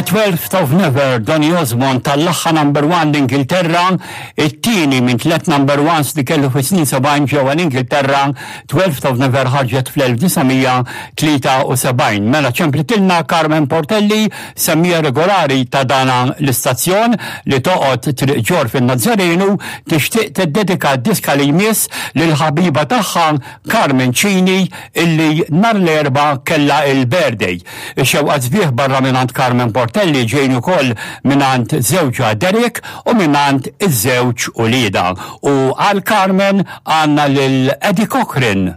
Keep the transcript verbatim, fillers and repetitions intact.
The Twelfth of Never, Donny Osmond tal-laħħa number one l-Ingilterra, it-tieni minn tlet number ones li kellu fi snin sebgħin ġewwa l-Ingilterra, Twelfth of Never ħarġet fl-elf disa' mija tlieta u sebgħin. Mela ċemplitilna Carmen Portelli, semmija regolari ta' dana l-istazzjon li toqgħod Triq Ġor fin-Nazzarenu, tixtieq tiddedika d-diska li jmiss lil ħabiba tagħha Carmen Cini illi nhar l-Erbgħa kellha il-birthday. Ix-xewqa sbieħ barra mingħand Carmen Portelli ġejn ukoll mingħand żewġha Derek u mingħand iż-żewġ ulieda. U għal Carmen għandna lil Eddie Cochran.